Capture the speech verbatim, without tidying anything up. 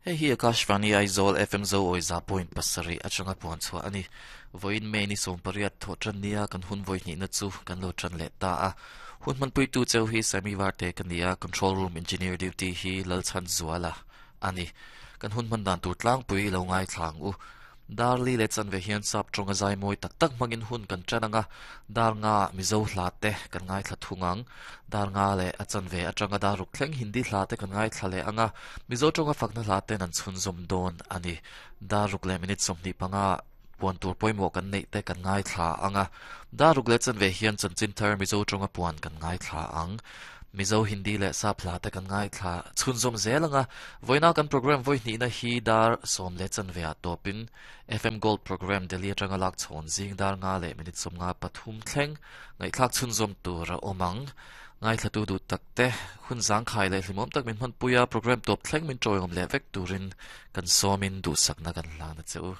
Hei hi Akashvani Aizawl F M zo awi za point pasarih atanga puan chhuah ani. Voin May ni sawm pariat thawh tan nia kan hun vawi hnihna chu kan lo tan leh ta a. Hun hmanpui tu cheu hi Sami Varte ka ni a, control room engineer duty hi Lalchhan Zuala ani. Kan hun hman dan tur tlangpui lo ngai thlang u. Dar li le chanve hian sap tawnga zai mawi tak tak hmangin hun kan tan anga, dar nga Mizo hla te kan ngai thla thung ang. Dar nga le a chanve atanga dar ruk thleng Hindi hla te kan ngai thla leh anga, Mizo tawnga fakna hla ten an chhunzawm dawn ani. Dar ruk le minute sawmhnih panga puan tur pawimawh kan neih te kan ngai thla anga, dar ruk le chanve hian chanchin thar Mizo tawnga puan kan ngai thla ang. Mizo, Hindi le sap hla te kan ngai thla chhunzawm zel anga, voina kan program voi hnih na hi dar sawm le chanve a tawpin F M Gold program Delhi atanga lak chhawn zing dar nga le minute sawm nga pathum thleng ngaihthlak chhunzawm tur a awm ang. Ngai thla tu duh tak te, hun zang khai le hlimawm tak min hman puia program tawp thleng min tawngawm leh vek turin kan sawmin duhsakna kan hlan a cheu.